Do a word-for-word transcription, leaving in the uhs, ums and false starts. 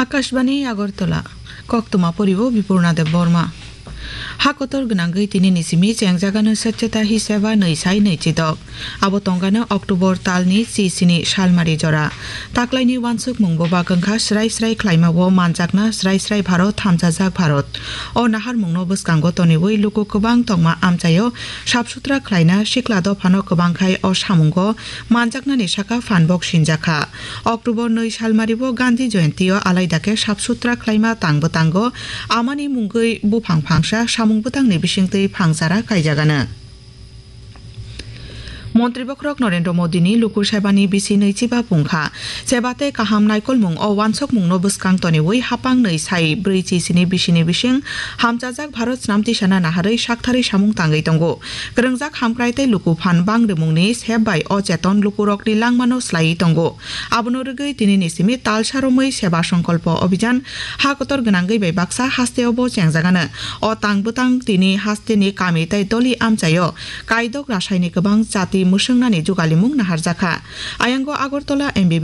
Akashbani Agartala, koktwma poribo Bipurna Deb Borma. Ha kotor gwnangwi tini ni simi chengjagano Swachhata Hi Seva nwi sai nwi chidok. Abo tongano October talni chi sini salmari jora. Taklaini wansukmung bo bagwngkha srai srai khlaima o manjakna srai srai Bharot hamchajak Bharot. O naharmungno bwskango toniwi luku kwbang tongma amchaio sap sutra khlaina sikla dophano kwbangkhai o samungo manjaknani saka phanbok sinjakha. October nwi salmari o Gandhi Jayanti o alaida khe sap sutra khlaima tang bwtango amani mungwi buphang phangsa samung bwtangni bisingtwi phangchara kaijagano. Montri bokhorok Narendra Modi ni luku sebani bisi nwi chiba pungkha. Seba tei kaham naikolmung o wansokmung no bwskang toniwi hapang nwi sai brwi chi sini bisi ni bising hamchajak Bharat snam tisana naharwi saktharwi samung tangwi tongo. Kwrwngjak hamkrai tei luku phan bang rwmung ni sep bai o cheton luku rok ni langma no slaiwi tongo. Abono rwgwi tini ni simi talsa romwi seba songkolpo obhijan ha kotor gwnangwi bai baksa haste o bo chengjagano. O tang bwtang tini haste ni kami tei doli amchaio kaidok rasai ni kwbang chati mwswngnani jugalimung naharjakha. Ayango Agartala M B